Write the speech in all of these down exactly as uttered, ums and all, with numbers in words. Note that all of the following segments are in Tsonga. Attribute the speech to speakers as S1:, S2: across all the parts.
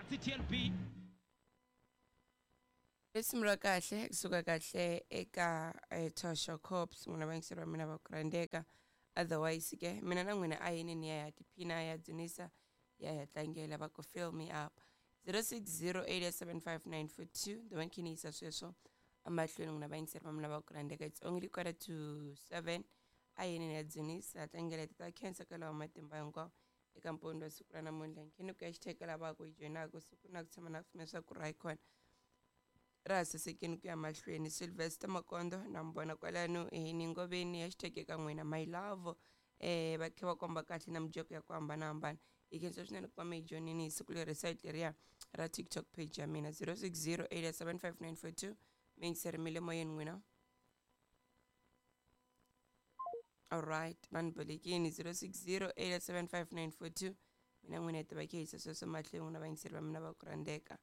S1: T L B.
S2: Risimu ra kahle kusuka kahle eka eh, Tosha Corps, n'wina vayingiseri va mina va ku rhandzeka. Otherwise ke mina na n'wina a yini ni ya ya tiphina, ya dzunisa, ya ya tlangela va ku "Fill Me Up". zero six zero eight seven five nine four two the one khe ni yisa sweswo emahlweni, n'wina vayingiseri va mina va ku rhandzeka. It's only quarter to seven. A yini ni ya dzunisa, tlangela ti ta khensa ka lawa matimba hinkwawo eka mpfuno wa siku ra namuntlha. Nkheni ku ya xitheka lava ku yi joyinaka siku na ku tshama na ku pfumela swa ku ra yi kona ra ha sasekini ku ya mahlweni. Sylvester Makondo na mi vona kwalano ni ngoveni, hashtag eka n'wina my love. eh va kha va komba kahle na mijeko ya ku hambanahambana. Hi khensa swinene ku va mi hi joinini hi siku leri, site leriya ra TikTok page ya mina. zero six zero eight seven five nine four two, mi yingiseri mi le moyeni n'wina. Alright, vanhu bolekini. zero six zero eight seven five nine four two, mina n'wina hi tiva khe yisa sweswo mahlweni. N'wina vayingiseri va mina va ku rhandzeka,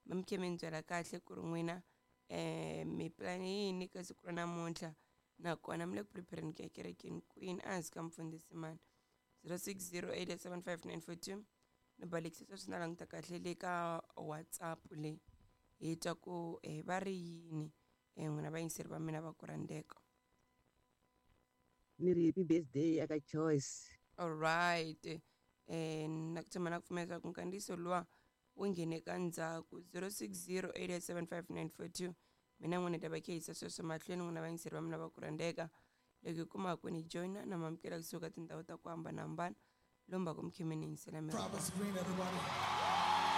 S2: mi mi khe mi ni byela kahle ku ri n'wina um mi plan yini ka siku ra namuntlha, nakona mi le ku prepareni ku ya kerekeni kwini ehansi ka mfundhisi mani. zero six zero eight seven five nine four two, ni balekisa sweswi na languta kahle le ka WhatsApp leyi, hi twa ku eh, va ri yini um n'wina vayingiseri va mina va ku rhandzeka.
S3: Ni ri happy birthday aka Choice.
S2: Alright, eh na ku tshama na ku pfumela ku nkandziyiso luwa wu nghene ka ndzhaku. zero six zero eight seven five nine four two, mina n'wina ta va khe yisa sweswo mahlweni. N'wina vayingiseri va mina va ku rhandzeka, loko hi kumaka ni joyina na mamukela kusuka tindhawu ta ku hambanahambana lomba ku mi khe mi ni yingisela mi ri
S4: Province Green, everybody.